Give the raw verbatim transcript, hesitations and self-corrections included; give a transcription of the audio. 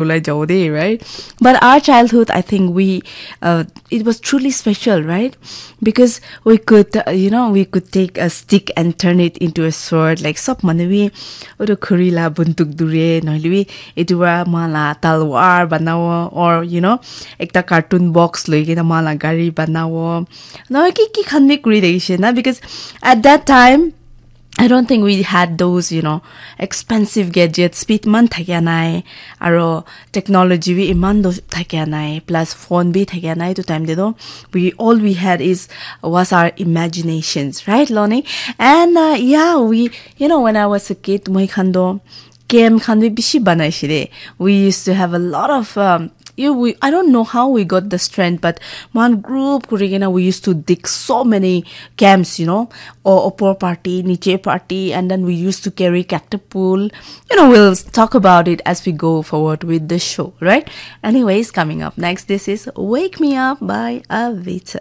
ulai jabo de, right? But our childhood, I think we, uh, it was truly special, right? Because we could, uh, you know, we could take a stick and turn it into a sword. Like, sob manu bi, oto khuri la bunduk dure, nohole bi, etu para moikhan la talwar banabo, or, you know, ekta carton box loi kena moikhan la gari banabo. No, ki, ki khan bi kuri thakishe na, because at that time, I don't think we had those, you know, expensive gadgets. Speed man thakia nai, aro technology bi iman do thakia nai, plus phone bi thakia nai. To time de do, we, all we had is, was our imaginations, right, Loni? And uh, yeah, we, you know, when I was a kid, moi khan do game khan bi bishi banai shire. We used to have a lot of um, you we I don't know how we got the strength, but moikhan group kuri kena we used to dig so many camps, you know, or upper party, niche party, and then we used to carry catapult. You know, we'll talk about it as we go forward with the show, right? Anyways, coming up next, this is Wake Me Up by Avita.